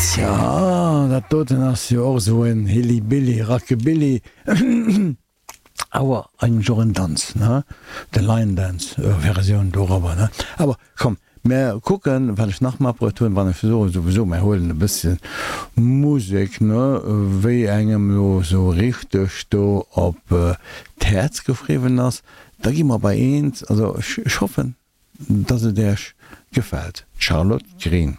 Tja, dat doten ass jo och esou en Hillybilly, Rockabilly, awer eigentlech och en Danz, ne? De Line Dance Versioun dorobber, ne? Awer komm, mär kucken, wat ech nach matbruecht hunn. Wann ech soen, souwisou, mär huelen e bësschen Musek, ne, wéi engem elo esou richteg do op d'Häerz geschriwwen ass, da gi mer bei eent. Also ech hoffen, dass et Iech gefält. D'Charlotte Green.